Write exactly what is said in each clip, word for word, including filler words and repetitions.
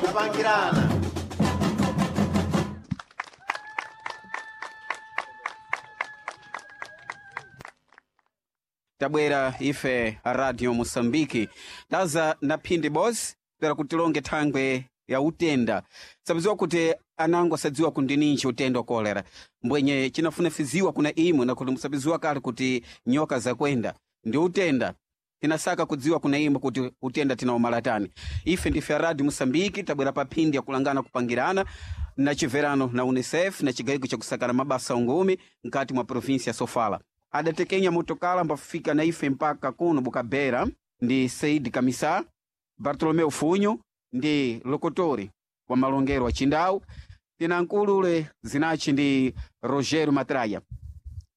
Kupangirana. Tabwera ife a Radio Mosambiki taza na phindi bosi pera kutilonge thangwe ya utenda. Sabiziwa kuti anango asadziwa kundininji utenda wa kolera, mbwenye chinafunafiziwa kuna imwe na kuti musabiziwa kale kuti nyoka zakwenda ndi utenda. Tinasaka kudziwa kuna imwe kuti utenda tinaumalatani. Ife ndife a Radio Mosambiki tabwera pa phindi ya kulangana kupangirana na chiverano na UNICEF na chigayiko chakusakana mabasa ungumi nkati mwa provinsi ya Sofala. Adatekenya motokala mbafika na ife mpaka kuno Bukabera ndi Said Kamisa, Bartolomeu Funyo ndi lokotori wa malongero wa Chindau. Tina nkulule zinachi ndi Rogério Matraia.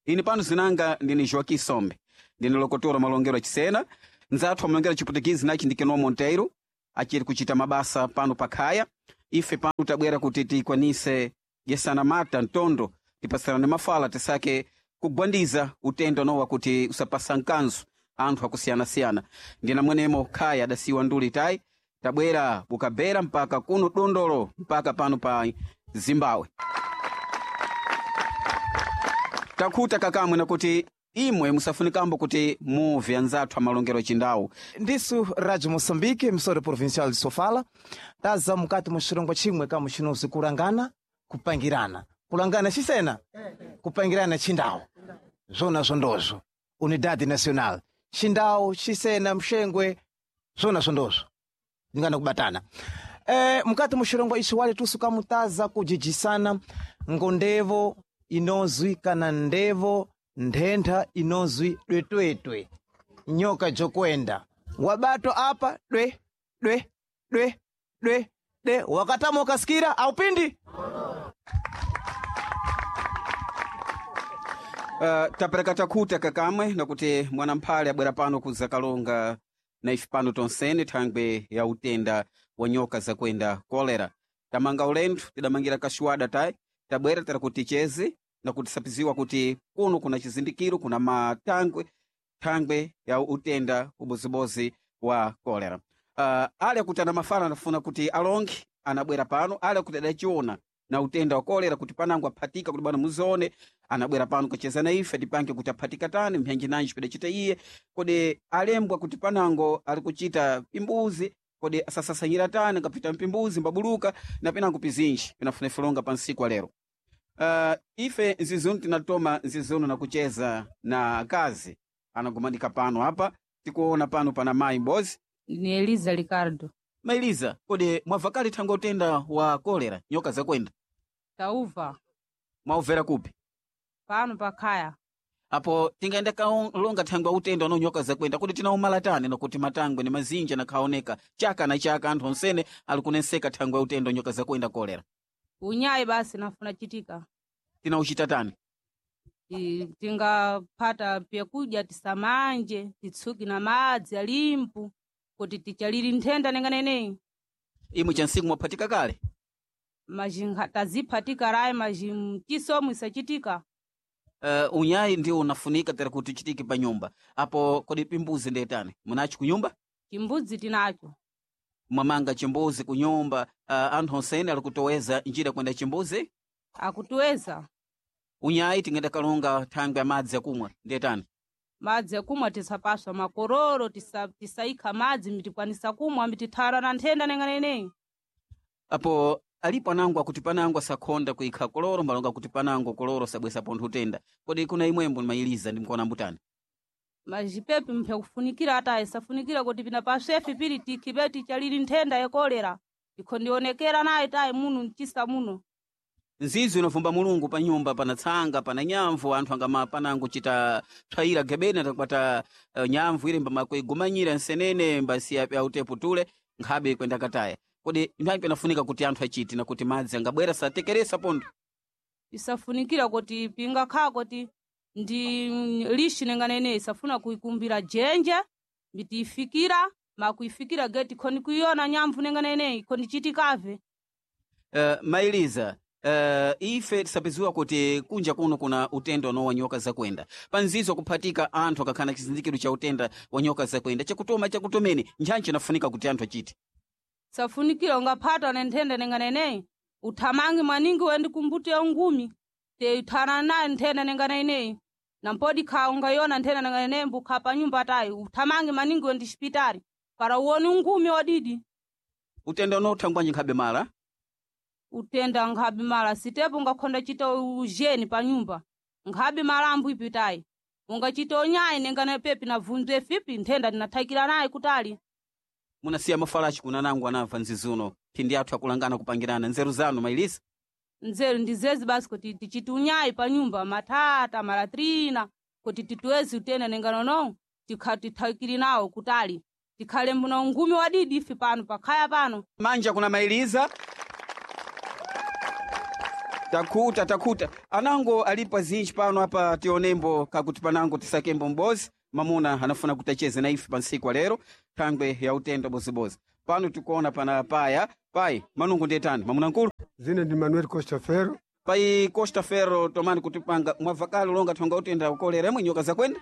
Ini pano zinanga ndini Joaquim Sombe, ndini lokotori wa malongero wa Chisena. Nzathu wa malongero a Chiputukizi zinachi ndi Keno Monteiro, achiri kuchita mabasa pano pakhaya. Ife pano tabwera kuti tikwanise jesana mata ntondo tipasirane mafala tisake kugwandiza utendo nowa kuti usapasa nkanzu anthu akusiyana-siyana. Ndina mwenemo khaya adasiwa nduli tayi tabwera Bukabera mpaka kuno Dondolo mpaka pano pa Zimbabwe. Takhuta kakamwe nakuti imwe musafunikambo kuti muve anzathu amalongero achindawu. Ndisu Rádio Moçambique, emissora provincial de Sofala, taza mukati mu xirongwa chimwe ka muxinozi kulangana kupangirana. Kulangana xisena, kupangirana xindawu. Zwona zwondozwo, Unidade Nacional. Xindawu, xisena, mxengwe, zwona zwondozwo. Ndingana kubatana. Eh, mukati mu xirongwa ixi wale tusu kamutaza kujijisana ngondevo inozwi kana ndevo nthentha inozwi dwetwetwe. Nyoka jokwenda wabato apa dwe dwe dwe dwe de wakatama ukasikira aupindi. Uh, tapereka takhuta kakamwe nakuti mwanamphale abwera pano kuzakalonga na ife pano tonsene thangwe ya utenda wa nyoka zakwenda kolera. Tamanga ulendo tidamangira kashuwada tayi tabwera tera kuti ticheze na kutisapiziwa kuti kuno kuna chizindikiro kuna matangwe thangwe ya utenda ubozibozi wa kolera. Uh, ali akuti ana mafala anafuna kuti alonge anabwera pano, ali akuti adachiona na utenda wa kolera kuti panango aphatika kuti bwana muzione anabwera pano kucheza na ife tipange kuti aphatika tani mphenji nanji pidachita iye kodi alembwa kuti panango ali kuchita pimbuzi kodi asasasanyira tani ngapita mpimbuzi mbabuluka na pinango pizinji pinafuna ifilonga pa nsiku alero. Uh, ife nzizunu tinatoma nzizunu na kucheza na akazi anagumanika pano apa tikuona pano pana mayi mbozi. Ni Eliza Ricardo. Mailiza, kodi mwavakali thangwe utenda wa kolera nyoka zakwenda? Tauva Mwauvera kupi? pano pakhaya. Apo tingaenda kalonga thangwe utenda uno nyoka zakwenda kuti tinaumala tani nakuti matangwe ni mazinja nakhaoneka chaka na chaka anthu onsene ali kunenseka thangwe utenda nyoka zakwenda kolera. Unyayi basi nafuna chitika. Tinauchita tani? Ti- Tingaphata pyakudya tisamanje titsuki na madzi alimpu kuti tichaliri nthenda nenganeneyi. Imwe chansiku mwaphatika kale? Majinga taziphatika rayi maji mchisomo isachitika. Uh, unyayi ndio unafunika tera kuti uchitike pa nyumba. Apo kodi pimbuzi ndetani? Munacho kunyumba? Chimbudzi tinacho. Mwamanga chimbuzi kunyumba, uh, anthu onsene ali kutoweza njira kwenda chimbuzi? Akutiweza Unyayi tingenda kalonga thangwe ya madzi akumwa ndetani? madzi akumwa tisapaswa makororo tisa, tisaikha madzi mitikwanisa kumwa mitithara na nthenda nenganeneyi. Apo alipo anango akuti panango asakhonda kuikha koloro mbalonga kuti panango koloro sabwesa pontho utenda. Kodi kuna imwembo nimayiliza ndi mkuona mbutani? Majipepi mphe kufunikira ata isafunikira kuti pina paswefi pili tikhipe tichaliri nthenda ya kolera ikhondionekera nayi tayi muno mchisa muno. Nzizi unovumba mulungu pa nyumba pana tsanga pana nyamvu anthu angama panango chita tswayira gebeni atakwata uh, nyamvu ile mbamakuigumanyira nsenene mbasiya autepo tule nkhabe kwenda kataya. Kodi mphanyi panafunika kuti anthu achite na kuti madzi angabwera satekeresa pontho? Isafunikira kuti pingakhala kuti ndi lishi nenganene isafuna kuikumbira jenje mitiifikira makuifikira geti khoni kuiona nyamvu nenganene ikhoni chitikave. Uh, mailiza uh, ife tisapeziwa kuti kunja kuno kuna utenda uno wa nyoka zakwenda panzizo kuphatika anthu akakhala chizindikiro cha utenda wa nyoka zakwenda chakutoma chakutomeni ntchantchi inafunika kuti anthu achite. Safunikira ungaphatwa na nthenda nenganeneyi uthamange maningi wende kumbuto ya ungumi te uthana nayo nthenda nenganeneyi na mpodi kha ungayona nthenda nenganeneyi mbukha pa nyumba tayi uthamange maningi wende xipitali para uwone ungumi wadidi. Utenda uno uthangwanji nkhabe mala? Utenda nkhabe mala sitepo ungakhonda chita ujeni pa nyumba nkhabe malambo ipitayi ungachita onyayi nengana pepi na vunzwe fipi nthenda ndinathakira naye kutali. Munasiya mafalachi kuna nangu anamva nzizuno phindi athu akulangana kupangirana nzeru zanu mailisa. Nzeru ndizezi basi kuti tichite unyayi pa nyumba matata malatrina kuti tituwezi utenda nengano no tikha tithakiri nawo kutali tikhale mbuna ungumi wadidi ife pano pakhaya pano. Manja kuna mailiza. Takhuta takhuta anango alipo zinji pano apa tionembo kakuti panango tisakembo mbozi mamuna anafuna kuti acheze na ife pansiku lero thangwe ya utenda bozibozi pano tikuona pana paya pai manungu ndetani mamuna nkulu. Zine ndi Manuel Costa Ferro. Pai Costa Ferro tomani kutipanga mwavakale ulonga thonga utenda ukolera imwe nyoka zakwenda.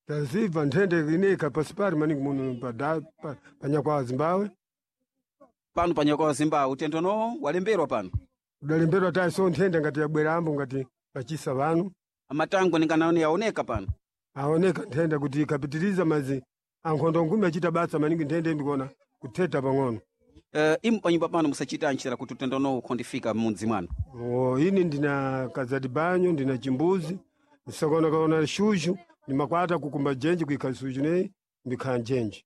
Tazibva nthende ineika pasi pali maningi muno pada pa, panyakwa Zimbabwe. Pano panyakwa Zimbabwe utendo no walemberwa pano. Udalemberwa tayi so nthende ngati yabwerambo ngati pachisa vanu. Amatango ninganaone yaoneka pano. Aoneka nthenda kuti ikapitiriza mazi ankhondo ngumi achita basa maningi nthende ndikuona kutheta pang'ono. Uh, imu panyumba pano musachita ntchera kuti utendo no ukhondifika m'mudzi mwanu. Oh, ini ndina kazati banyo ndina chimbuzi nsakaonakaona shushu ndimakwata kukumba jenji kuikha suju neyi ndikhala njenji.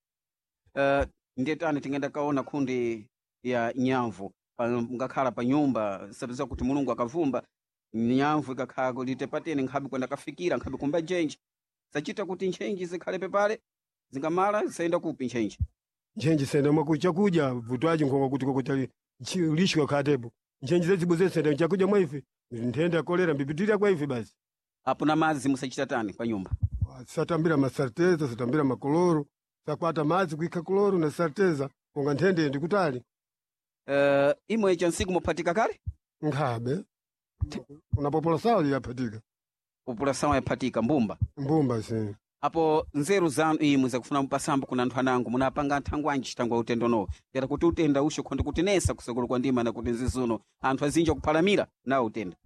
Uh, ndiyetani tingenda kaona khundi ya nyamvu pa, ngakhala pa nyumba sapeza kuti mulungu akavumba nyamvu ikakhala kulite patene nkhabe kwenda kafikira nkhabe kumba njenji sachita kuti ntchenji zikhale pepale zingamala zisayenda kupi ntchenji. Ntchenji senda mwaku chakudya vutwaji nkhonga kuti kokuti lishwa khatepo ntchenji zezibu senda chakudya mwa ife nthenda kolera mbipitirira kwa ife basi. Apo na madzi musachita tani pa nyumba? Satambira masarteza satambira makoloro sakwata madzi kuikha koloro na sarteza konga nthende ndikutali. Uh, imwe chansiku muphatika kale? Nkhabe unapopola sawa yaphatika. Popola sawa yaphatika mbumba. Mbumba si. Apo nzeru zanu imwe zakufuna mupasambo kuna anthu anango munapanga nthangwe anji thangwe utendo no yata kuti utenda usho khondi kutinesa kusokolo kwa ndima na kuti nzizuno anthu azinji akuphalamira nawo utenda.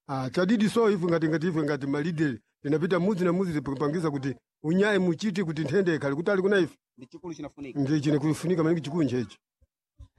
Ah, chadidi so ife ngati ngati ife ngati malideri tinapita mudzi na mudzi tipangiza kuti unyayi muchiti kuti nthende ikhale kutali kuna ife. Ndi chikulu chinafunika. Ndi chine kufunika maningi chikulu nchechi.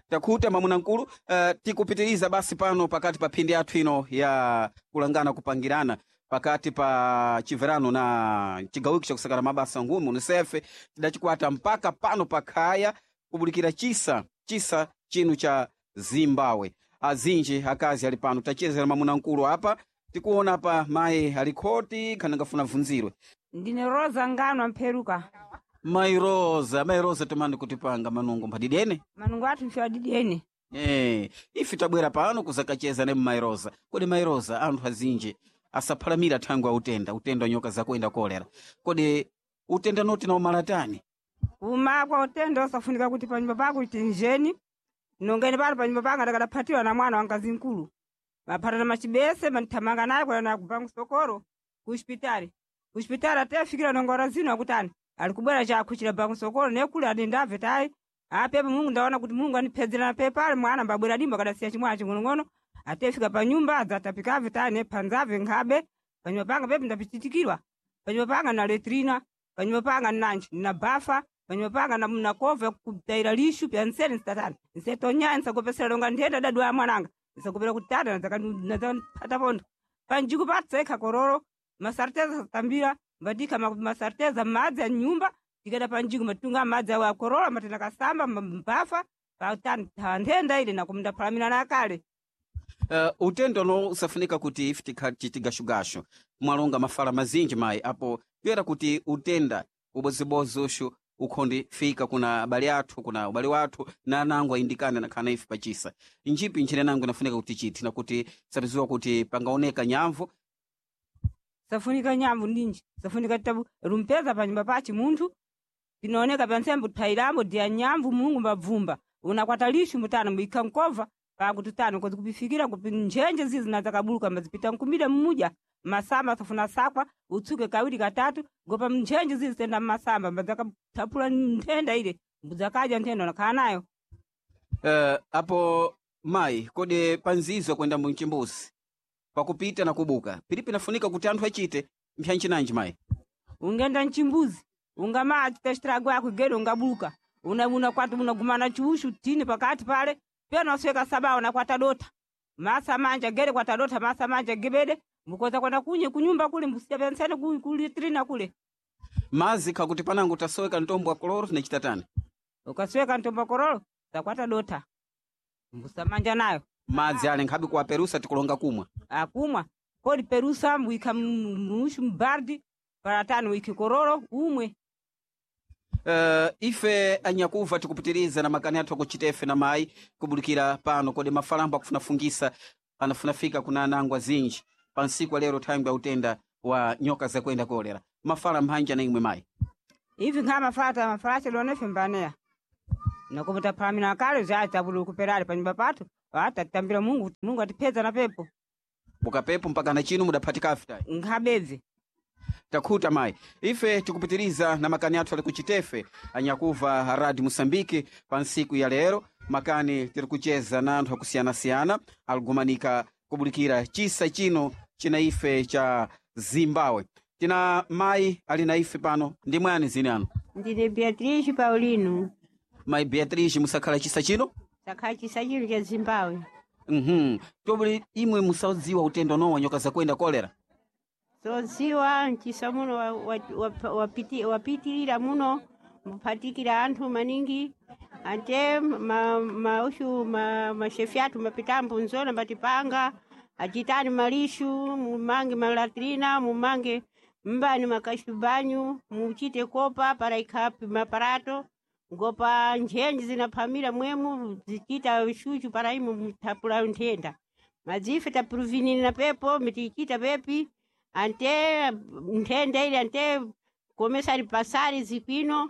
Takhuta mwamuna mkulu. Uh, tikupitiriza basi pano pakati pa phindi yathu ino ya kulangana kupangirana pakati pa chiverano na chigawiko chakusakana mabasa ngumi UNICEF tidachikwata mpaka pano pakhaya kubulikira chisa chisa chinu cha Zimbabwe. Azinji akazi ali pano tachezera mwamuna mkulu apa tikuona pa mayi alikhoti khanangafuna vunzirwe. Ndine Rosa Ngano Mpheruka. Mayi Rosa, mayi Rosa tomani kutipanga manungo mphadidene. Manungo athu mfe adidene. Eh, ife tabwera pano kuzakacheza ne mayi Rosa. Kodi mayi Rosa anthu azinji asaphalamira thangwe a utenda, utenda wa nyoka zakuenda kolera. Kodi utenda noti na umalatani? Uma kwa utenda usafunika kuti panyumba pako tinjeni. Nongeni pano panyumba panga ndakadaphatiwa na mwana wangazi nkulu. Maphatana machibese manithamanga naye kwenda naye kubangu sokoro ku hospitali. Ku hospitali atefikira nongora zino akutani. Ali kubwera chakhuchira bangu sokoro nekule adendabve tayi. Apepo Mulungu ndaona kuti Mulungu andiphedzera na pepale mwana mbabwera dimba kadasiya chimwana ching'onong'ono. Atefika pa nyumba adzatapikabve tayi nephanzabve nkhabe. Panyumba panga pepo ndapichitikirwa. Panyumba panga na letrina, panyumba panga nanji na bafa, panyumba panga na mnakova kutaira lishu pya nsene nsitatani. Nsetonya nsakopesera longa nthenda dadu ya mwananga. Nsakopera kuti tata nadzakapata pondo. Panjiku patsekha kororo, masarteza satambira, mbadika masarteza madzi a nyumba, tikada panjiku matunga madzi awo akorora matenda kasamba mbafa, patani nthenda ile nakumndaphalamira nakale. Uh, utendo no usafunika kuti ife tikhati tigashugashu mwalonga mafala mazinji mayi apo kuyera kuti utenda ubozibozi ushu ukhondi fika kuna abale athu kuna ubale wathu na anango ayindikane nakhana ife pachisa njipi nchine nango inafunika kuti chiti nakuti sapiziwa kuti pangaoneka nyamvu. Safunika nyamvu ndinji safunika tabu rumpeza panyumba pachi munthu pinaoneka pansembe thailamo diya nyamvu Mulungu mbabvumba unakwata lishu mutano muikha nkova pakuti tano kozi kupifikira kupi njenje zizi nazakabuluka mazipita nkumida mmuja masamba safuna sakwa utsuke kawiri katatu gopa njenje zizi tenda mmasamba mbadzakathaphula nthenda ile mbudzakadya nthenda unakhala nayo. Uh, apo mayi kodi panzizo kwenda munchimbuzi pakupita na kubuka pili pinafunika kuti anthu achite mpyanchinanji mayi? Ungenda nchimbuzi ungama achita ako gede ungabuluka una unakwata unagumana chiushu tini pakati pale pena wasweka sabao nakwata dota masa manja gede kwata dota masa manja gebede mukoza kwenda kunye kunyumba kule mbusija pensene kulitrina kule. Mazi kakuti panango tasoweka ntombo wa koloro tinachita tani? Ukasweka ntombo korolo takwata dota mbusamanja nayo. Madzi ale nkhabe kuwaperusa tikulonga kumwa? Akumwa kodi perusa wika mushu mbardi paratani wiki kororo umwe. Uh, ife anyakuva tikupitiriza na makani athu akuchita ife na mayi kubulikira pano kodi mafalambo akufunafungisa anafunafika kuna anango azinji pa nsiku alero thangwi ya utenda wa nyoka zakuenda kolera mafala mphanja na imwe mayi. Ivi nkha mafata mafalache lonefe mbaneya nakuputa phamina kale zyatabulu kuperali panyumba pathu atatambira Mungu Mungu atipeza na pepo. Bukapepo mpaka na chino mudaphatika afitayi. Nkhabedze. Takhuta mayi, ife tikupitiriza na makani athu ali kuchitefe anyakuva radi Musambiki pa nsiku ya lero makani tiri kucheza na anthu akusiyana-siyana aligumanika kubulikira chisa chino china ife cha Zimbabwe. Tina mayi ali na ife pano ndi mwani zini anu? Ndine Beatrice Paulino. Mayi Beatrice, musakhala chisa chino? Sakhala chisa chino cha Zimbabwe. Mhm tobuli imwe musadziwa utendo nowa nyoka zakuenda kolera? Zodziwa mchisa muno wapitirira wa, wa, wa, wapitirira muno mphatikira anthu maningi ate ma, maushu ma, mashefi athu mapitambo nzona matipanga achitani malishu mumange malatrina mumange mbani makashubanyu muchite kopa para ikhapi maparato ngopa nthenji zinaphamira mwemu zichita shuchu para imu mthapula nthenda madzife tapuruvinira pepo mitichita pepi ante nthenda ili ante komesari pasari zikwino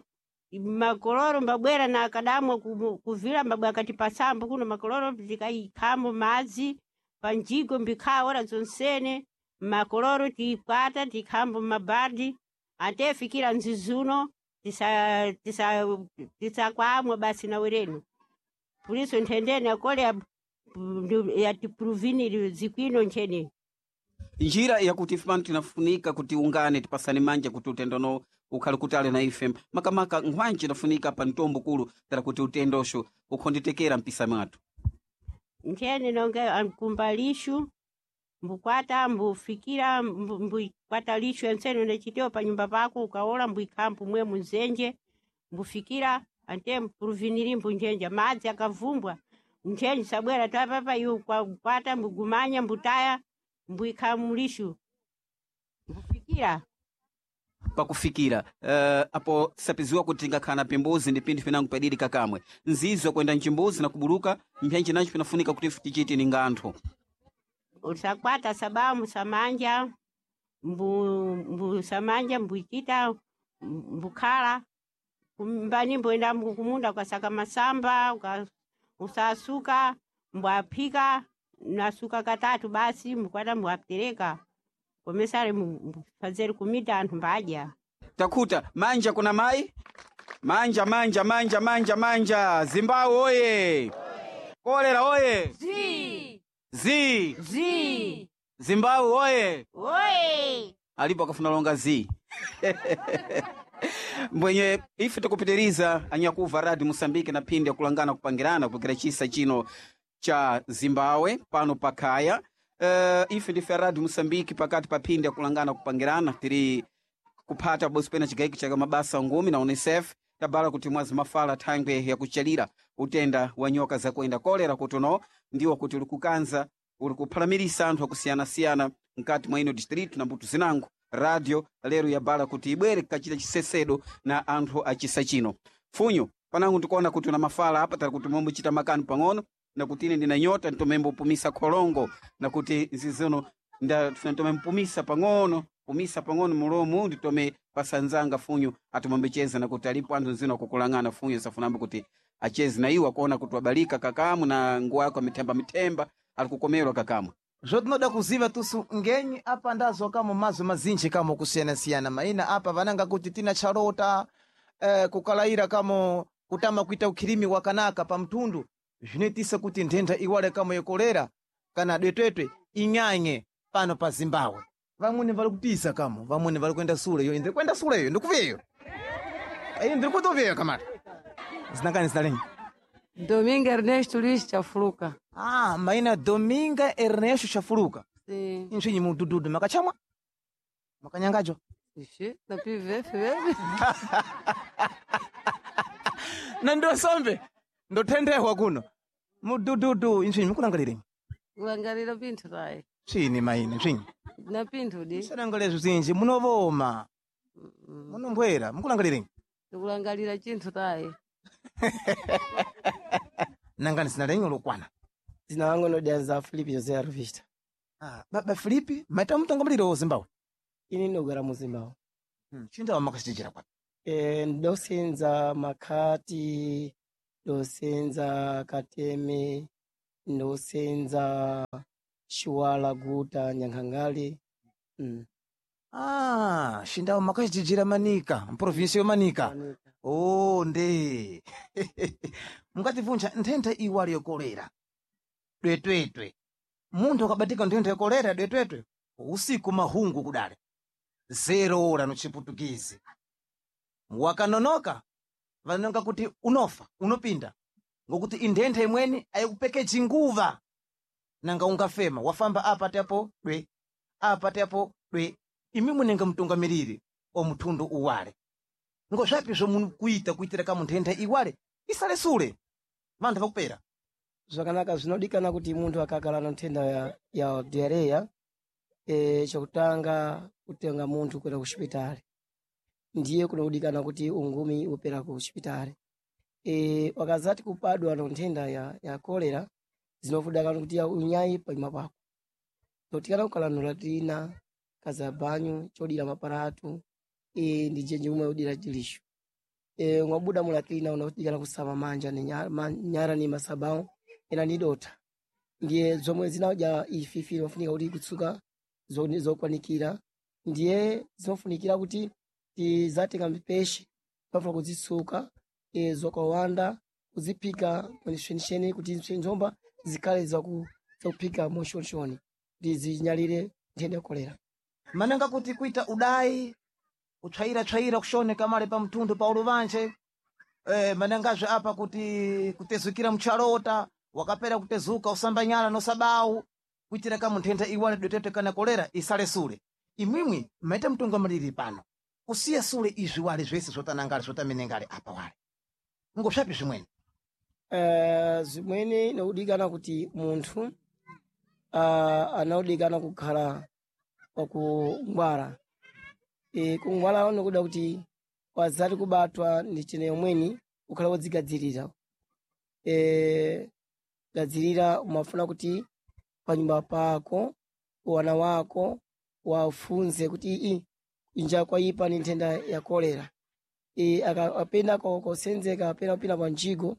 makoloro mbabwera na akadamwa kuvila mbabwe akati pasambo kuno makoloro tikaikhamo madzi panjigo mbikhawa ora zonsene makoloro tikwata tikhambo mabadi ante fikira nzizuno tisa tisa tisakwamwa basi na werenu puliso nthendeni akole yatipuruviniri zikwino ncheni. Njira yakuti ife pano tinafunika kuti ungane tipasane manja kuti utendono ukhale kutali na ife makamaka nkhwanji inafunika pa mtombo kulu tara kuti utendosho ukhonditekera mpisa mwathu. Nthene nonga amkumba lishu mbukwata mbufikira mbukwata lishu ensene unachitewa pa nyumba pako ukaola mbuikhambu mwe munzenje mbufikira ante mpuruviniri mbunjenja madzi akavumbwa nthenji sabwera tapapa iwo kwata mbugumanya mbutaya mbuikha mulishu mbufikira. Pakufikira uh, apo sapiziwa kuti tingakhala na pimbuzi ndi pinthu pinango padidi kakamwe nzizo kwenda mchimbuzi na kubuluka mpyanji nacho pinafunika kuti ife tichite ninga anthu. Usakwata sabamu samanja mbu, mbu samanja mbuichita mbukhala mbani mboenda kumunda ukasaka masamba uka, usasuka mbwaphika nasuka katatu basi mbukwata mbwatereka komesare mfazeri kumita anthu mbadya. Takhuta manja kuna mayi manja manja manja manja manja Zimbabwe oye kolera oye Zi. zi Zi. Zimbabwe oye Oye! alipo akafuna longa zi mbwenye ife tikupitiriza anyakuva radi Musambiki na phindi yakulangana kupangirana kupikira chisa chino cha Zimbabwe pano pakhaya. Uh, ife ndife radi Musambiki pakati pa phindi yakulangana kupangirana tiri kuphata bosi pena chigaiki cha mabasa ngumi na UNICEF tabala kuti mwazi mafala thangwe yakuchalira utenda wa nyoka zakuenda kolera kutuno ndiwo kuti uli kukanza uli kuphalamirisa anthu akusiyana-siyana mkati mwa ino distritu na mbuto zinango. Radio lero yabala kuti ibwere kachita chisesedo na anthu achisa chino funyo panango ndikuona kuti una mafala apa tali kuti mombochita makani pang'ono nakuti ine ndina nyota ntomembopumisa kholongo nakuti nzizino ntomempumisa pang'ono pumisa pang'ono mulomu nditome pasanzanga funyo atomombecheza nakuti alipo anthu nzino akukulang'ana funyo safunambo kuti acheze na iwo akuona kuti wabalika kakamu na nguwa yako mithemba mithemba alikukomerwa kakamu. Zvo tinoda kuziva tusu ngenyi apa ndazo kamo mazo mazinji kamo kusiyana-siyana maina apa vananga kuti tina charota eh, kukalaira kamo kutama kuita ukhirimi wakanaka pa mtundu Zvinoitisa kuti nthenda iwale kamo yekolera kana dwetwetwe inyanye pano pa Zimbabwe. Vamweni vari kupisa kamo, vamweni vari kuenda sule iyo, ndiri kuenda sule iyo, ndikuveyo. Iyo ndiri kutoveyo kamata. Zinangani zina lenyu? Domingo Ernesto Luiz Chafuluka. Ah, maina Dominga Ernesto Chafuluka. Sim. Insvinyi mudududu makachamwa? Makanyangajwa? Ixi, na P V F mesmo. Na ndosombe ndothendehwa kuno. Mudududu insvinyi mukulangalirenyi? Kulangalira pinthu tayi. Tsvini maina tsvinyi. Na pinthu di. Musalangalire zvizinji munovoma. Munombwera mukulangalirenyi? Ndikulangalira chinthu tayi. Nangani zina lenyu lokwana. Zina langu nodianza Filipe José Arvista. Ah, baba Filipe, maita mutungamiriri wa Zimbabwe. Ini ndinogara mu Zimbabwe. Hmm. Chindawa makachijira kwapi? E, ndosenza Makhati, ndosenza Kateme, ndosenza Chiwala, Guta, Nyankhangali. Mm. Ah, xindawa makachijijira Manika, mprovinsi yo Manika. Manika. Oh, nde. Mungatibvunja nthenda iwali yokolera. Dwetwetwe. Munthu akabatika nthenda yokolera dwetwetwe, usiku mahungu kudale. Zero ora no chiputukizi. Wakanonoka, vanonga kuti unofa, unopinda. Ngokuti inthenda imweni ayikupekeji nguva. Nanga ungafema, wafamba apa tepo dwe, apa tepo dwe. Imi munenge mtungamiriri wa muthundu uwale. Ngozvapi zvomukuita kuitira kamunthenda iwale isale sule vanthu vakupera. Zvakanaka zvinodikana kuti munthu akakhala na nthenda ya, ya diarrhea e, chokutanga kutenga munthu kuenda ku chipitali ndiye kunodikana kuti ungumi upera ku chipitali e, wakazati kupadwa na nthenda ya, ya kolera zinofudakana kuti ya unyayi panyuma pako notikana kukhala nolatina kazabanyu chodira maparatu e, ndi jenje umwe udira chilisho e, mwabuda mulatina unodikana kusama manja ni nyara, ma, nyara ni masabao ena ni dota ndiye zomwe zinaja ififi inofunika kuti kutsuka zo- zokwanikira ndiye zinofunikira kuti tizatenga mipeshe pafuna kuzitsuka e, zokawanda kuziphika mwenishwenisheni kuti nzomba zikhale zaku- zakuphika moshonishoni kuti zinyalire nthenda ya kolera. Mananga kuti kuita udai kutsvaira-tsvaira kushoneka male pa mtundu pa uluvanje eh, manangazve apa kuti kutezukira muchalota wakapera kutezuka usamba nyala nosabau kuitira kamunthenda iwale dwetwetwe kana kolera isale sule. Imwimwi maita mtungamiriri pano kusiya sule izvi wale zvese zvotanangale zvotamenengale apa wale ngozvapi zvimweni? Eh, zimweni inodikana kuti munthu uh, anaodikana kukhala wakungwara e, kungwara nokuda kuti wazati kubatwa ndi chene yomweni ukhala wodzigadzirira e, gadzirira umafuna kuti panyumba pako wana wako wafunze kuti ii inja kwaipa ni nthenda ya kolera e, aka- apenda ko- kosenzeka apena kupita pa njigo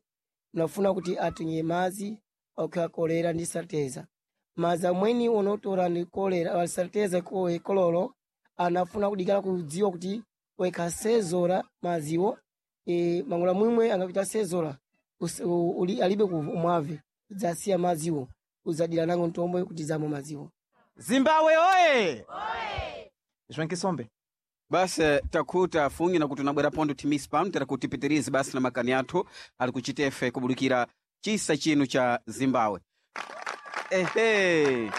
unafuna kuti atunye madzi okha kolera ndi salteza madzi amweni unotora ndi kolera salteza ko- kololo anafuna kudikana kudziwa kuti wekasezora madziwo e, mangula mwimwe angapita sezora us- u- uli- alibe kumwave udzasiya madziwo udzadira nango mtombo kuti zamwe madziwo. Zimbabwe oye! Zvankisombe. Basi takhuta funyi na kuti unabwera pondo timisi pano tera kuti tipitirize basi na makani athu ali kuchitefe kubudikira chisa chinu cha Zimbabwe. Ehe,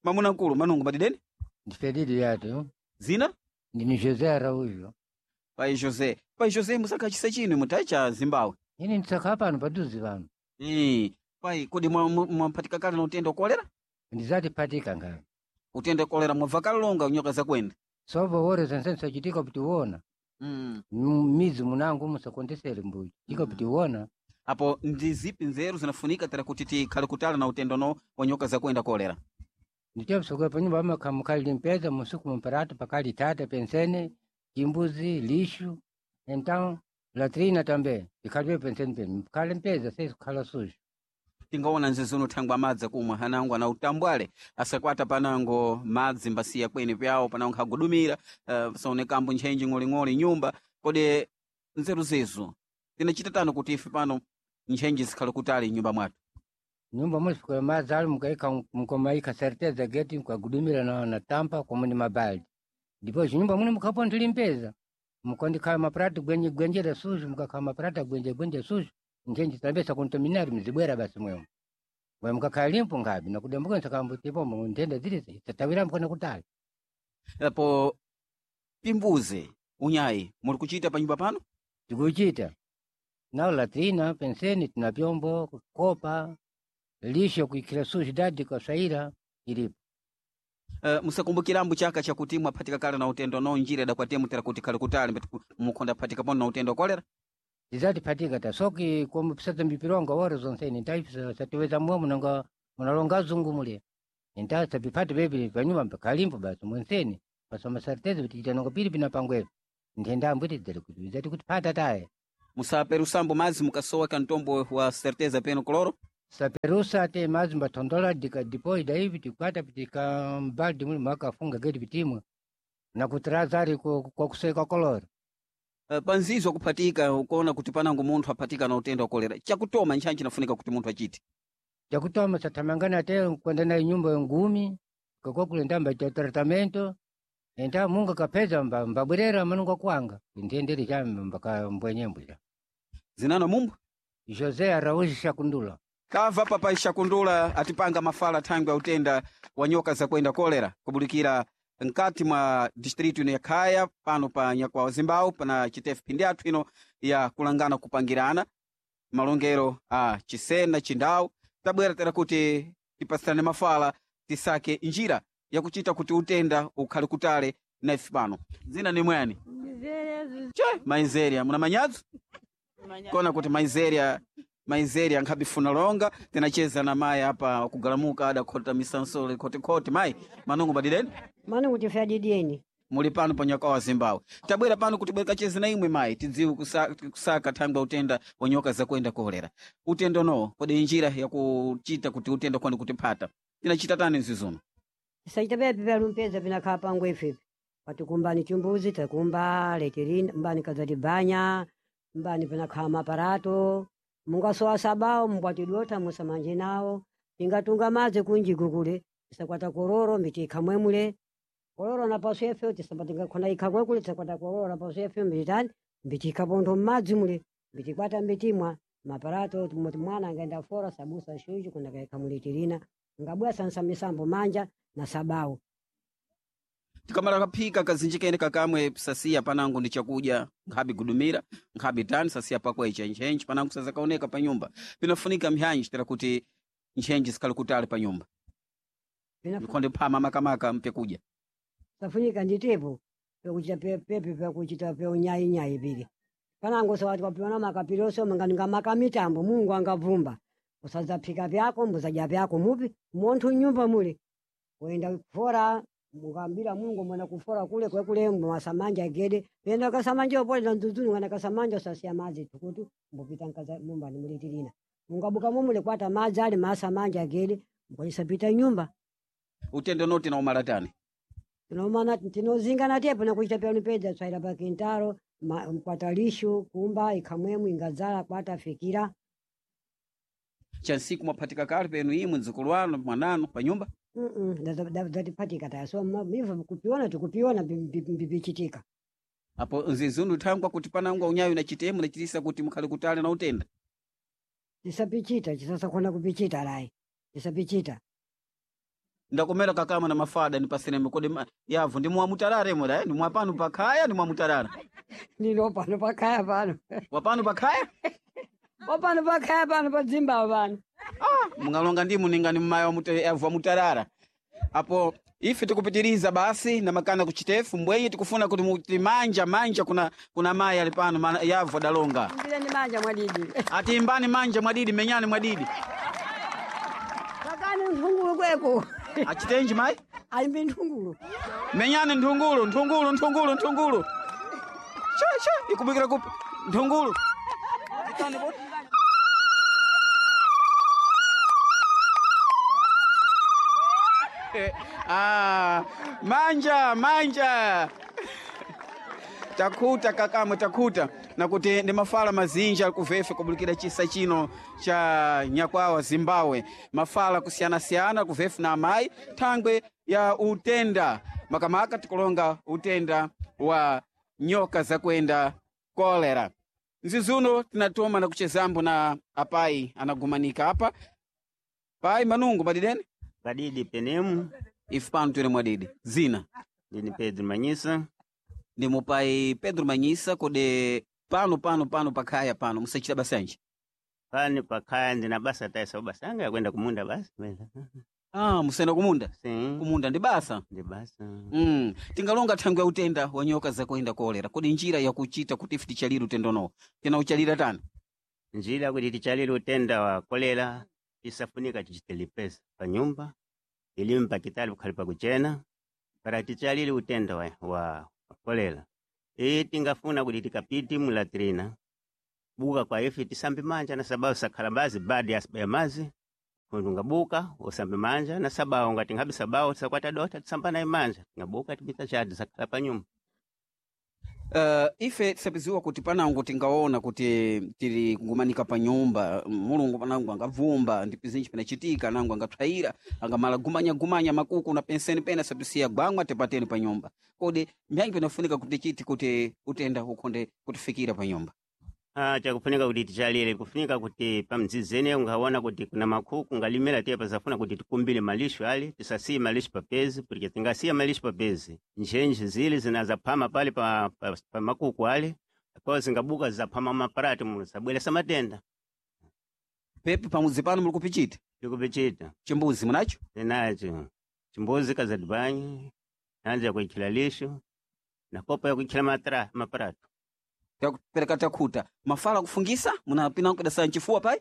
mamuna nkulu manungu madideni Ndifelili yatu zina ndini José Araújo. pai José pai José musaka chisa chinu mutayi cha Zimbabwe. Ini ndisakha pano paduze pano. Eh, pai kodi mwampatika kale na utenda wa kolera? Ndizati patika ngani. Utenda wa kolera mwabva kale longa nyoka zakwenda. Sovo wore zense sachitika kuti uona. Mm. Mizi munangu musakondesere mbuyi. Tika kuti uona. Apo ndi zipi nzeru zinafunika tera kuti tikhale kutala na utendo no wa nyoka zakwenda kolera? Ndichepsoka panyumba amakhamukali limpeza musuku mumparatu pakali tata pensene chimbuzi lixo. Então latrina também. Ikhalibe pensene pene. Mkhale mpeza sesikhala sujo. Tingaona nzezuno thangwa madzi akumwa hanango ana utambwale asakwata panango madzi mbasiya kweni pyawo panango khagudumira uh, saonekambo ntchenji ng'oling'oli nyumba kodi nzeru zezo Tinachita tano kuti ife pano ntchentche zikhale kutali m'nyumba mwathu. Nyumba muli sikula madzi ali mukaika mkomaika certeza geti mukagudumira na, na tampa komo ni mabaldi. Depois nyumba muli mukhapo ndilimpeza. Mukondikhala maprata gwenye gwenjera sujo mukakhala maprata gwenje gwenje sujo ntchentche tambesa kontaminari mzibwera basi mwemo. Mwe mukakhala limpo ngabi nakudambuka nsakambo tipo nthenda zili tatawira mkona kutali. Apo pimbuze unyayi muli kuchita pa nyumba pano? Tikuchita. Nao latrina penseni tina vyombo kopa lisho kuikhira sujo dadi kasaira ilipo. Uh, musakumbukirambo chaka chakuti mwaphatika kale na utendo no njira idakwatiye tera kuti khale kutali mbeti mukhonda phatika pano na utendo wa kolera? Tizatiphatika ta soki como pisata mbipironga wora zonseni ntaipisa satiweza mwe nanga munalonga zungu mule. Nta sapipata bebi panyumba pakalimpo basi mwenseni pasoma certeza kuti nonga pili pinapangwepo. Nthenda ambwiti dzali kuti zati kuti phata taye. Musaperusambo madzi mukasowa kantombo wa certeza peno koloro? Saperusa te madzi mbathondola dika depois daí tikwata pitika mbaldi muli makafunga geti pitimwe na kutrazari kwa kuseka kolora. Uh, panzizo kuphatika ukuona kuti panango munthu aphatika na utendo wa kolera chakutoma ntchantchi chinafunika kuti munthu achite. Chakutoma sathamangana te kwenda naye nyumba ngumi kakwa ndamba cha tratamento enta munga kapeza mba mbabwerera manunga kwanga ntendere cha mbaka mbwenyembwira. Zinano mumbu? José Araújo Shakundula. Kava papai Shakundula atipanga mafala thangwi ya utenda wa nyoka zakwenda kolera kubulikira nkati mwa distritu ino ya Khaya pano pa Nyakwawa Zimbau pana chitefu phindi athu ino ya kulangana kupangirana malongero a Chisena Chindau tabwera tera kuti tipasirane mafala tisake njira yakuchita kuti utenda ukhale kutale na ife pano. Dzina ni mwani? Che, Maizeria, muna manyadzo? Kona kuti Maizeria Maizeria nkhabifuna longa tinacheza na mayi apa kugalamuka adakhota misansole khotikhoti mayi manungu badideni Mano kuti fyadidieni. muli pano pa Nyakwawa Zimbabwe tabwera pano kuti bwera kacheze na imwe mayi tidziwe kusa, kusaka thangwi ya utenda wa nyoka zakwenda kolera utendo no kodi njira yakuchita kuti utenda kwani kutiphata tinachita tani mzizuno? Tisaita bebi vyalumpeza vinakhala pangu ifipi. Patikumbani chimbuzi takumba letirina mbani kazati banya mbani vinakhala maparato mungasowa sabao mbwatidota musamanje nawo tingatunga madzi kunjiku kule tisakwata kororo miti ikhamwemule kororo napaso efe tisapatingakhona ikhamwe kule tisakwata kororo napaso efe mbitani mbiti ikhapontho mmadzi mule mbitikwata mbitimwa maparato moti mwana angaenda fora sabusa shuju kuna kaikhamulitirina ngabwa sansa misambo manja na sabao. Tikamala kaphika kazinjikene kakamwe sasiya panango ndi chakudya nkhabi gudumira nkhabi tani sasiya pakwa icha ntchentche panango sazakaoneka pa nyumba pinafunika mphyanji tera kuti ntchentche zikhale kutali pa nyumba mikhonde phama makamaka mpekudya Safunika nditepo pekuchita pepe pekuchita peunyainyayi pili panango sawati kwapiona makapiloso manganinga makamitambo Mungu angavumba usazaphika vyako mbuzadya vyako mupi munthu nyumba mule wenda kufora mukambira Mungu mwana kufora kule kwekule mwasamanja gede penda kasamanja opole na nzuzunu kana kasamanja usasiya madzi tukutu mbupita nkaza mumba nimulitirina mungabuka mumule kwata madzi ali masamanja gede mkwanyisapita nyumba. Utendo noti na umalatani tinomana tinozingana tepo nakuchita pyanupedza tswaira pa kintaro mkwatalishu kumba ikhamwemwe ingadzala kwata fikira chansiku mwaphatika kale penu imwe mdzukulu wanu mwananu pa nyumba? Datiphatika taya so mivo kupiona tikupiona mbipichitika. Apo nzizundu thangwa kuti panangwa unyayo na chitemu nachitisa kuti mukhale kutali na utenda. Tisapichita chisasakhona kupichita layi tisapichita. Ndakomera kakama na mafada nipaseneme kodi yavu ndi mwamutalare moda eh? Ndi mwapano pakhaya ndi mwamutalala Ndino pano pakhaya pano. Wapano pakhaya? Wapano pakhaya pano pa dzimbawo pano. Ah, mungalonga ndimu ningani mmaya yavu wamutalala. Apo ife tikupitiriza basi na makana kuchitefu mbwenye tikufuna kuti muti manja manja kuna kuna mayi ali pano mana, yavu adalonga. Mbireni manja mwadidi. Ati imbani manja mwadidi menyani mwadidi. Kakani nthungulu kweko. Achitenji mayi? Ayimbi nthungulu. Menyani nthungulu nthungulu nthungulu nthungulu. Cha cha ikubikira kupi nthungulu. Ah, manja manja. Takhuta kakamwe takhuta nakuti ndi mafala mazinji ali kuvefe kubulikira chisa chino cha nyakwawa Zimbabwe, mafala kusiyanasiyana kuvefe na amayi thangwe ya utenda makamaka tikulonga utenda wa nyoka zakwenda kolera. Nzizuno tinatoma na kuchezambo na apai anagumanika apa pai manungu madidene Padidi penemu. Ife pano tili mwadidi zina ndini Pedro Manyisa. Ndi mupai Pedro Manyisa kodi pano pano pano pakhaya pano musachita basanji Pani pakhaya ndina basa taisa basa anga yakwenda kumunda basi. Ah, musenda kumunda? Si. Kumunda ndi basa? Ndi basa. Mm. Tingalonga thangwe ya utenda wa nyoka zakuenda kolera kodi njira yakuchita kuti ife tichalire utenda unowo tinauchalira tani? Njira kuti tichalire utenda wa kolera isafunika tichite pa nyumba ilime pakitali kukhali pakuchena para tichalire utenda wa, wa kolera iyi tingafuna kuti tikapiti mulatrina buka kwa ife tisambe manja na sababu sakhala bazi badi ya mazi kundu ngabuka usambe manja na sababu ngati ngabe sababu tisakwata dota tisamba naye manja ngabuka tipita chadi sakhala pa nyumba. Uh, ife tisapiziwa kuti panango tingaona kuti tili kugumanika pa nyumba mulungu panango angavumba ndi pizinji pinachitika nango angathwayira angamala gumanya-gumanya makuku na penseni pena sapisiya gwangwa tipateni pa nyumba kodi mbyanji pinafunika kuti chiti kuti utenda ukhonde kutifikira pa nyumba. Ah, chakufunika kuti tichalire kufunika kuti pamdzizene ungaona kuti kuna makhuku ngalimira tiye pasafuna kuti tikumbile malisho ali tisasiye malisho papezi porque tingasiya malisho papezi njenje zile zinazaphama pale pa, pa, pa makuku ali kwa zingabuka zaphama maparati muno zabweresa matenda. Pepe pamudzi pano muli kupichita? Tikupichita. Chimbuzi munacho? Tinacho. Chimbuzi kazadibanyi nanja yakuikhila lisho na kopa yakuikhila matra maparato. Takupereka takhuta mafala kufungisa munapina kudasa nchifuwa pai?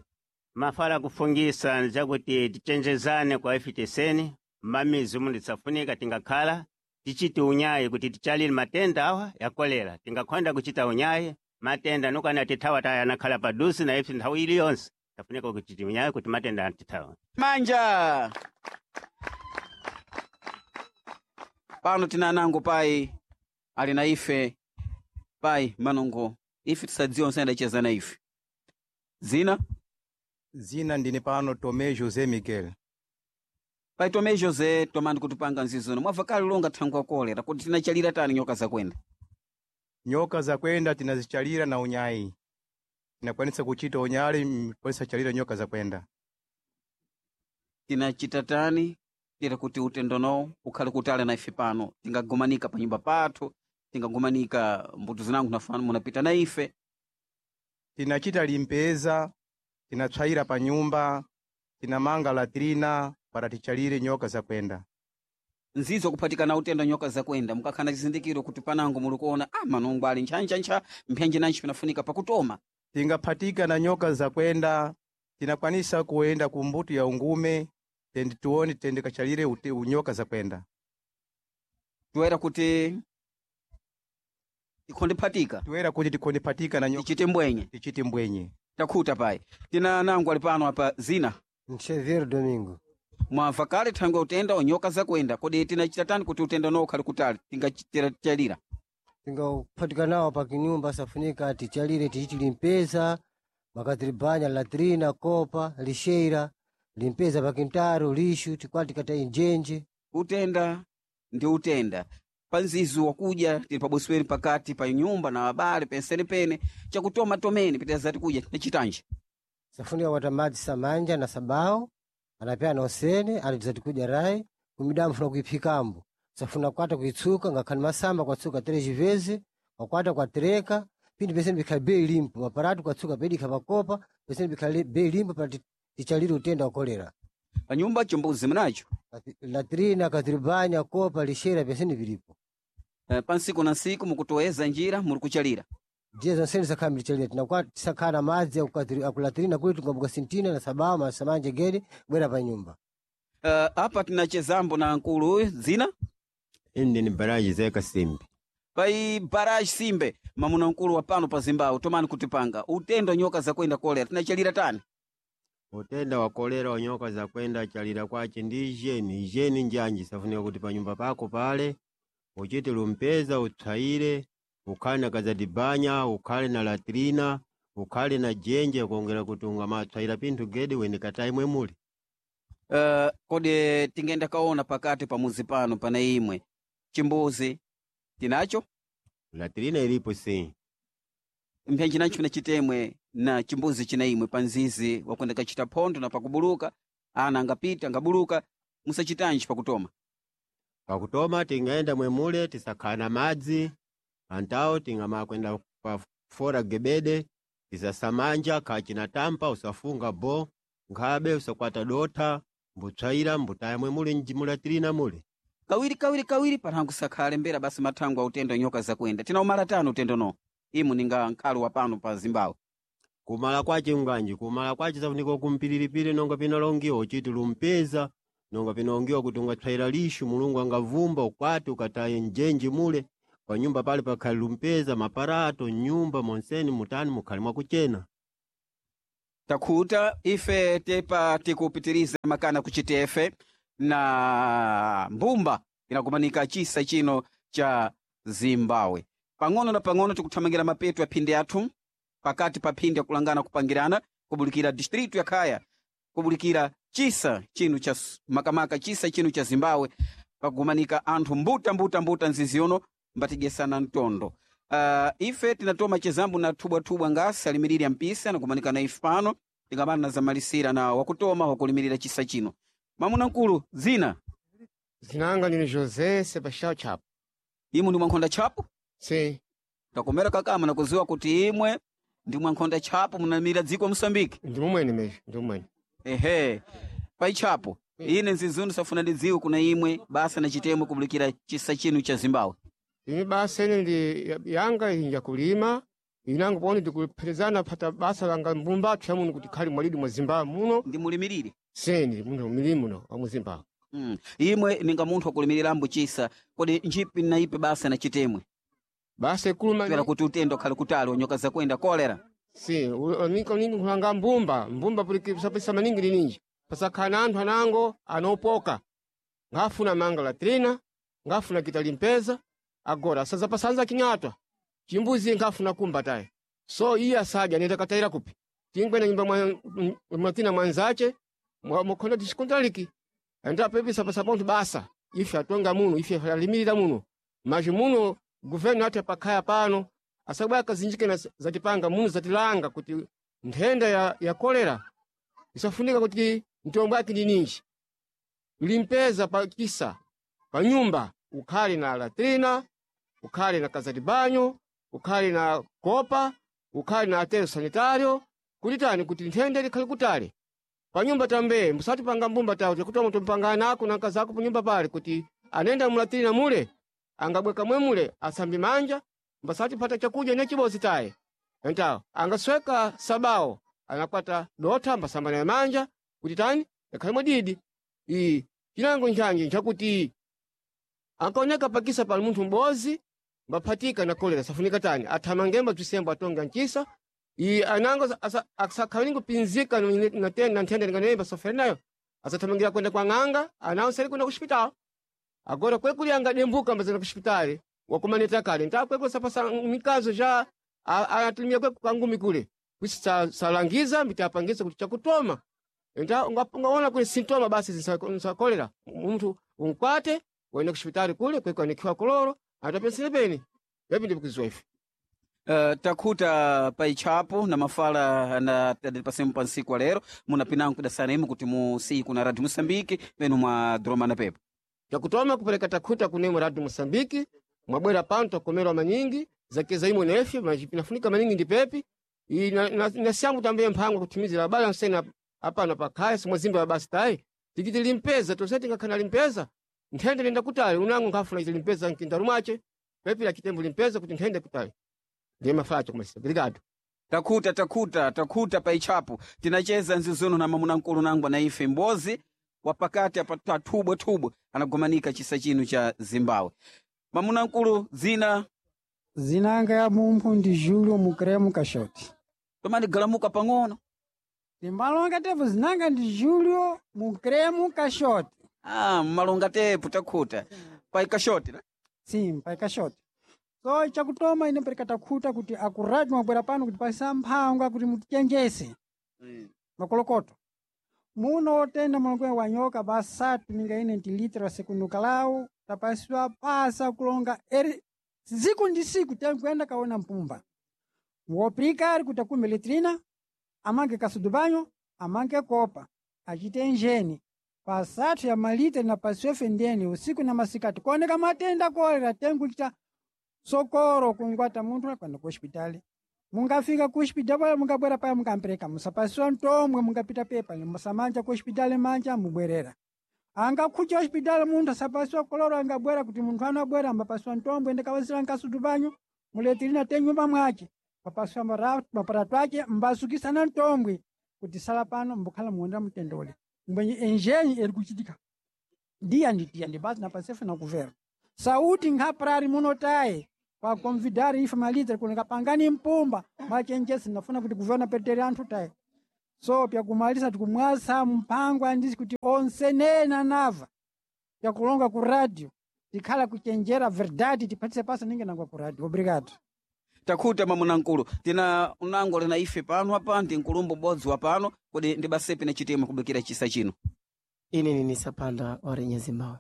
Mafala kufungisa njakuti tichenjezane kwa ife teseni mamizi muno tisafunika tingakhala tichite unyayi kuti tichalire matenda awa ya kolera tingakhonda kuchita unyayi matenda nukana tithawa taya anakhala padusi na ife nthawi iliyonse tafunika kuchita unyayi kuti matenda atithawa. Manja pano tina anango pai ali na ife pai manungo ife tisadziwa nsayendacheza na ife zina Zina ndine pano Tomé José Miguel. Pai Tomé José tomani kutipanga nzizono mwabva kale longa thangwe ya kolera kuti tinachalira tani nyoka zakwenda. Nyoka zakwenda tinazichalira na unyayi. Tinakwanisa kuchita unyali kwanisa chalira nyoka zakwenda. Tinachita tani tira kuti utendonowo ukhale kutali na ife pano tingagumanika pa nyumba pathu tingagumanika mbuto zinango nafana munapita na ife. Tinachita limpeza, tinatswayira pa nyumba, tinamanga latrina para tichalire nyoka zakwenda. Nzizo kuphatikana utenda nyoka zakwenda mukakhala chizindikiro kuti panango muli kuona ah manungo ali ntchantchantcha mphenji nanji pinafunika pakutoma. Tingaphatika na nyoka zakwenda, tinakwanisa kuenda ku mbuto ya ungume tendi tuone tendi kachalire ute- unyoka zakwenda. Toera kuti tikhondephatika. Toera kuti tikhondephatika na nyoka. Tichite mbwenye. Tichite mbwenye. Takhuta pai tina nango ali pano apa zina Xavier Domingo. Mwamva kale thangwe utenda onyoka zakwenda kodi tinachita tani kuti utenda unowo ukhale kutali tingachalira? Tingaphatika nawo pa kinyumba safunika tichalire tichiti limpeza makatiribanya latrina kopa lixeira limpeza pa kintaro lixo tikwati tikata injenje. Utenda ndi utenda panzizu wakudya tili pabosweni pakati pa nyumba na abale penseni pene chakutoma tomene pitazati kudya tinachitanji. Safunika kwata madzi samanja na sabao anapea na osene anatizati kudya rai kumidamu funa kuiphikambo safuna kwata kuitsuka ngakhani masamba kwatsuka três vezes kwakwata kwatereka pindi pesene bikhali bei limpo maparatu kwatsuka pedikha pakopa pesene bikhali bei limpo para tichalire utenda wa kolera. Pa nyumba chimbuzi munacho? Latrina katiribanya kopa lixeira pesene vilipo. Eh, pa nsiku na nsiku mukutoweza njira muli kuchalira. Ndiye zonsene tisakhala mtichalira tinakwa tisakhala na madzi akukatiri- akulatrina kuli tingabuka sintina na sabao masamanje gede bwera pa nyumba. Uh, apa tinachezambo na nkulu uyu zina Ine ni Baraji Zeka Simbi. Pai Baraji Simbe mamuna nkulu wa pano pa Zimbabwe tomani kutipanga utenda nyoka zakwenda kolera tinachalira tani? Utenda wa kolera wa nyoka zakwenda chalira kwache ndi ijeni ijeni njanji safunika kuti pa nyumba pako pale uchite lumpeza utsayire Ukhale na kazadibanya, ukhale na latrina, ukhale na jenje kuongera kuti ungamatswaira pinthu gede wene katayi mwemuli. Uh, kodi tingenda kaona pakati pa muzi pano pana imwe chimbuzi tinacho? Latrina ilipo sim. Mphenji nacho pina chitemwe na chimbuzi china imwe pa nzizi wakwenda kachita phondo na pakubuluka ana angapita angabuluka musachitanji pakutoma. Pakutoma tingaenda mwemule tisakhala na madzi antawo tingamakwenda pa fora gebede tisasamanja kachina tampa usafunga bo nkhabe usakwata dotha mbutswaira mbutaya mwemule mjimulatirina mule. Kawiri kawiri kawiri panhangu sakhale mbera basi mathango a utendo nyoka zakwenda tina umala tano utendo no imu ninga nkhalo wa pano pa Zimbabwe. Kumala kwace nganji kumala kwace safunika kumpiliripiri nonga pinalongiwa uchiti lumpeza nonga pinalongiwa kuti ungatswaira lixu mulungu angavumba ukwati ukataye njenji mule panyumba pale pakhali lumpeza maparato nyumba monseni mutani mukhali mwakuchena. Takhuta ife tepa tikupitiriza makana kuchitefe na mbumba inakumanika chisa chino cha Zimbabwe. Pang'ono na pang'ono tikuthamangira mapeto ya phindi athu pakati pa phindi yakulangana kupangirana kubulikira distritu ya Khaya kubulikira chisa chino cha makamaka chisa chino cha Zimbabwe pakugumanika anthu mbuta mbuta mbuta nzizi yono mbatigesana mtondo. Uh, ife tinatoma chezambu na thubwathubwa ngasi alimiriri ampisi anakumanika na ife pano tingamana zamalisira na wakutoma wakulimirira chisa chino. Mamuna nkulu zina Zinanga ndine José Sebastião Chapo. Imwe ndi mwankhonda Chapo? Sim. Takomera kakama nakuziwa kuti imwe ndi mwankhonda Chapo munamira dziko Mosambiki. Ndi mumwene mesmo, ndi mumwene. Ehe. Pai Chapo, ine nzizunu safuna ndidziwe kuna imwe basa na chitemwe kubulikira chisa chinu cha Zimbabwe. Ine basa ine ndi yanga inja kulima, inango poni ndikupherezana pata basa langa mbumba athu muno kuti khali mwalidi mwa Zimbabwe muno. Ndi mulimirire? Sim, ndi muno milimo muno wa mu Zimbabwe. Mm. Imwe ninga munthu wakulimiriramo chisa, kodi njipi na ipi basa na chitemwe? Basa ikuluma Twera kuti utendo khali kutali wanyoka zakwenda kolera. Sim, ninga ninga kulanga mbumba, mbumba puli sapesa maningi lininji. Pasakhala anthu anango anopoka. Ngafuna manga latrina, ngafuna kita limpeza, agora asaza pasanza kinyatwa. Chimbuzi ngafuna kumba tayi. So iye asadya nenda katayira kupi. Tingwena nyumba mwa mwatina mwanzache, mwakhonda tishikontraliki. Enda pepisa pasaponto basa. Ife atonga muno, ife alimirira muno. Maji muno governo ati pakhaya pano asabwa kazinjike na zatipanga muno zatilanga kuti nthenda ya, ya kolera isafunika kuti mtombo yake ndi ninji limpeza pa kisa pa nyumba ukhale na latrina, ukhale na kazatibanyo, ukhale na kopa, ukhale na atero sanitario kuti tani kuti nthenda likhale kutali pa nyumba tambe musati panga mbumba tawo tikuti mutompanga nako na nkazako pa nyumba pale kuti anenda mulatrina mule angabweka mwemule asambi manja mbasati pata chakudya ne chibozi taye entawo angasweka sabawo anakwata dotha mbasamba naye manja kuti tani yakhale mwadidi iyi chinango nchanji nchakuti ankaoneka pakisa pali munthu m'bozi mbaphatika na kolera safunika tani athamangemba bzisembo atonga ncisa iyi anango asakhalingo pinzika na nthenda linganemba sofere nayo asathamangira kwenda kwa ng'anga anawo sali kwenda kuxipitala agora kwekuli angadembuka mbazana kuxipitali wakumaneta kale nta kwekuli sapasa mikazo ja anatumia kweku kangumi kule kwisi salangiza mbitapangisa kuti chakutoma nta ungaona kuli sintoma basi zinsa kolera munthu unkwate uende kuxipitali kule kweko anikhiwa koloro atapensele peni pepi ndikuziwa ife. Uh, takhuta paitchapo na mafala na pasemu pa nsiku wa lero munapinango kudasana imwe kuti musiyi kuna Radio Mosambiki penu mwa droma pepo. Chakutoma kupereka takhuta kunemwe Radio Mosambiki mwabwera pano takomerwa manyingi zakeza imwe nefe pinafunika maningi ndi pepi nasiyangu tambuye mphango kuthimizira abale ansene apano pakhaya simwazimba basi tayi tikiti limpeza tonse tingakhana limpeza nthenda lenda kutali unango nkhafuna iti limpeza mkindaru mwace pepi la chitembo limpeza kuti nthenda kutali ndiye mafacho kumasa. Obrigado. Takhuta takhuta takhuta paitchapo tinacheza nzizono na mamuna nkulu nangwa na ife mbozi wapakati apa tathubwa-thubwa anagomanika chisa chino cha Zimbabwe. Mamuna nkulu zina Zinanga ya mumphu ndi Julio Mukremu Kashoti. Tomani galamuka pang'ono. Timbalonga tepo zinanga ndi Julio Mukremu Kashoti. Ah, mmalonga tepo takhuta. Pai Kashoti na? Sim, pai Kashoti. So chakutoma ine pereka takhuta kuti akuradi mwabwera pano kuti pasisa mphangwa kuti mutichenjese makolokoto muno otenda mulongo wa nyoka basatu ninga ine ntilitira sekunukalau tapasiwa pasa kulonga eri siku ndi siku tenkuenda kaona mpumba woprikari kuti akume litrina amange kasudubanyo amange kopa achite njeni pasathu ya malita na pasiwefe ndeni usiku na masikati kuoneka matenda kolera tenkuchita sokoro kungwata munthu akwenda ku hospitali mungafika ku hospitali pala mungabwera paya mungampereka musapasiwa ntomwe mungapita pepa musamanja ku hospitali manja mubwerera angakhucha hospitali munthu asapasiwa koloro angabwera kuti munthu anabwera ambapasiwa ntombwe ndikawazira nkasutu panyu muletirina te nyumba mwace papasiwa mara- maparato ace mbasukisana ntombwe kuti sala pano mbukhala muwonera mtendole mbwenye enjenyi eri kuchitika ndiya nditiya ndibasi napasefe nakuvera sauti nkhaprari munotaye pakonvidari ife malitre kuneka pangani mpumba machenjesi nafuna kuti kuvona petere anthu taye so pyakumalisa tikumwasa mpango andisi kuti onse nena nava pyakulonga ku radio tikhala kuchenjera verdade tiphatise pasa ninge nangwa ku radio obrigado Takhuta mwamuna nkulu tina unango lina ife pano apa ndi nkulumbu ubodzi wa pano kodi ndi basepi na chitemwe kubikira chisa chino ine nini sapanda orenya zimbabwe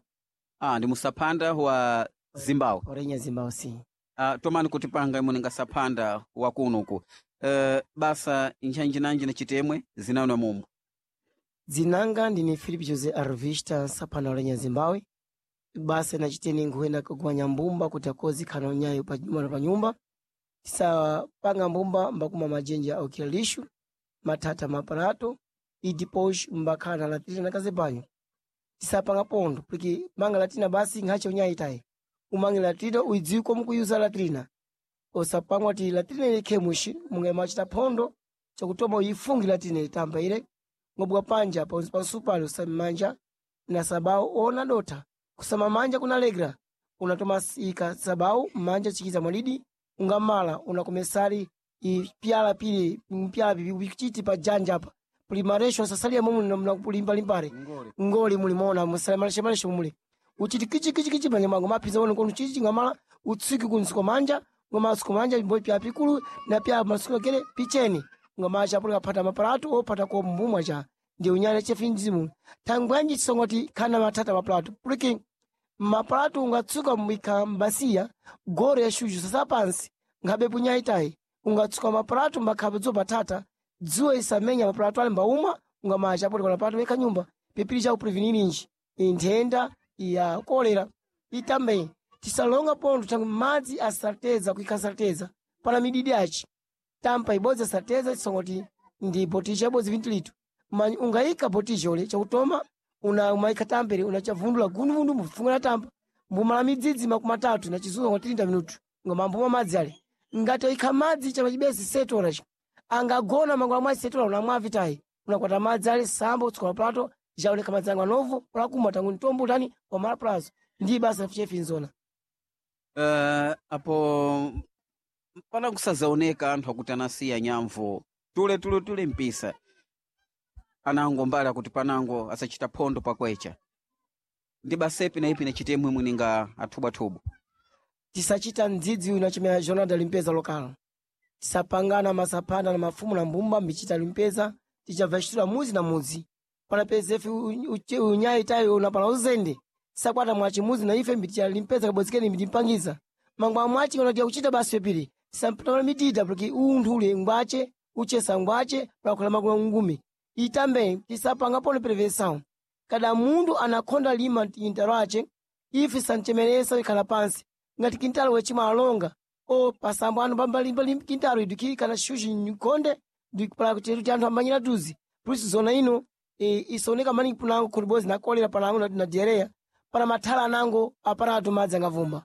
ah, ndi musaphanda wa Zimbabwe orenya zimbabwe si ah, tomani kutipanga imwe ninga saphanda wa kunuku uh, basa nchanjinanji na chitemwe zinano mumu dzinanga ndine Philip Jose Arvista sapanda orenya zimbabwe basa nachiteni nkuenda kugwanya mbumba kuti akozi khana unyayo pa nyumba pa nyumba tisapanga mbumba mbakuma majenja okira lixo mathatha maparato e depois mbakhala latina na kazebanyo tisapanga pondo porque manga latina basi nkhache unyayi tayi umange latrina uidziwe como kuyuza latrina osapangwa ti latrina ilikhe muxi munge machita phondo chakutoma uyifungi latrina itamba ile ngobwa panja pansi pansupali usamanja na sabau ona dotha kusama manja kunalegra unatoma ika sabau manja chikiza mwalidi ungamala unakomesali ipyala pili mpyala pipi upichiti pa janja apa puli maresho sasalia momwe mnakulimbalimbale ngoli mulimona musalemaleshe muli uchiti kichi kichi kichi panya mango maphiza wono kono chichi ngamala utsiki kunsuko manja ngomasuko manja mbo pya pikulu na pya masuko kele picheni ngamacha puli kaphata mapalatu opata ko mbumwa cha ndi unyale chefinzimu thangwanji chisongoti khana matata mapalatu puliki mapalatu ungatsuka mwikha mbasiya goro ya shuju sasa pansi nkhabe punyaitayi ungatsuka mapalatu mbakhabe dzo patata dzuwa isamenya mapalatu ali mbauma ungamacha puli kona palatu wekha nyumba pipili cha uprevenirinji inthenda ya kolera itambe tisalonga pondo tangu madzi asateza kuikha sateza pana mididi achi tampa ibodzi asateza chisongoti ndi botisha ibodzi vinti litu manyi ungayika botisha ule chakutoma una umayikha tampere unachavundula gunuvundu mbufunga na tampa mbumala midzidzi makumi atatu na chizunga kwa thirty minutu ngoma mbuma madzi ale ngati oyikha madzi chama chibesi setola chi angagona mangwala mwa setola unamwa vitayi unakwata madzi ale sambo utsuka plato jaoneka madzi angu anovu ulakumwa tangu mtombo utani wamala plazo ndi basa chefinzona uh, apo pana kusazaoneka anthu akuti anasiya nyamvu tule tule tule mpisa anango mbali akuti panango asachita phondo pakwecha ndi basepi na ipi na chitemwe mwininga athubwathubu tisachita mdzidzi unachimera jornal limpeza lokal tisapangana masaphanda na mafumu na mbumba mbichita limpeza tichabva muzi na mudzi panapeza ife unyayi tayo unapala uzende tisakwata mwachi muzi na ife mbiticha limpeza kabodzikeni mbitimpangiza mangwa mwachi unatiya kuchita basi pepiri tisampatana mitita porque unthu ule ngwache uchesa ngwache pakhola makulu ngumi itambe tisapanga pone prevenção kada munthu anakhonda lima intalo ace ife sanchemeresa ikhala pansi ngati kintalo wechimwa alonga o pasambo anu pambalimba kintalo iduki kana shushi nkhonde ndikupala chetu cha anthu amanyira tuzi puliso zona ino e, isoneka maningi punango khulibodzi na kolera panango na, na diarreia pana mathala anango aparatu madzi angavumba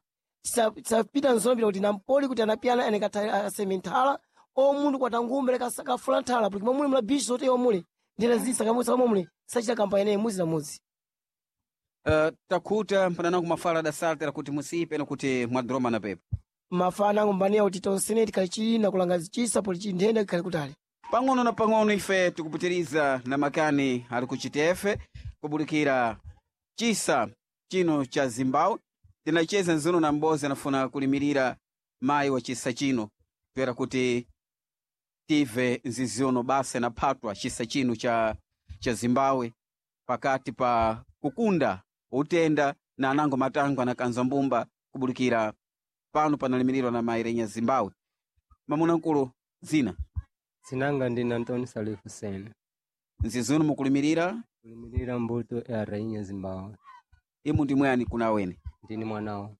tisapita nzona pita kuti nampoli kuti anapiyana anekatha aseme nthala o munthu kwatangumbe lekasakafula nthala porque momuli mula bichi zote omule ndena zisakamusa momule sachita kampani ineyi muzi na muzi uh, takhuta mpananango mafala adasaltera kuti musipe nakuti mwadroma na pepo mafana ango mbaniya kuti tonsene tikhali chili kulanga chisa poli chinthenda kikhali kutali pang'ono na pang'ono ife tikupitiriza na makani ali kuchitefe kubulikira chisa chino cha Zimbabwe tinacheza nzuno na mbozi anafuna kulimirira Mayi wa chisa chino toera kuti tive nzizi uno basa inaphatwa chisa chino cha, cha Zimbabwe pakati pa kukunda utenda na anango matango anakanza mbumba kubulikira pano panalimirirwa na mayi Rainha Zimbabwe. Mamuna nkulu zina Sinanga ndine Antônio Salif Hussein. Nzizi uno mukulimirira Kulimirira mbuto ya Rainha Zimbabwe. Imu ndi mwani kuna wene Ndini mwanawo.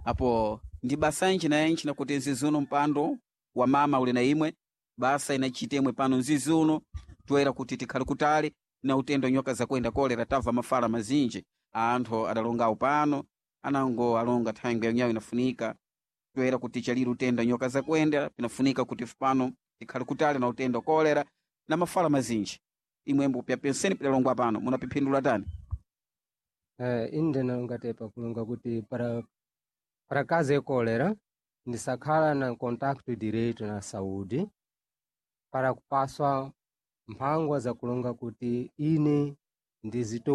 Apo ndi basa inchi na inchi nakuti nzizi uno mpando wa mama uli na imwe basa inachita imwe pano nzizi uno toera kuti tikhale kutali na utendo nyoka zakwenda kolera tabva mafala mazinji anthu adalongawo pano anango alonga thangwi yanyawo inafunika toera kuti chalire utenda nyoka zakwenda pinafunika kuti pano tikhale kutali na utendo kolera na mafala mazinji imwembo pya penseni pidalongwa pano munapiphindula tani? Eh, inde nalongatepa kulonga kuti para para caso ya cólera ndisakhala na contacto direto na saúde para kupaswa mphangwa za kulonga kuti ine ndizito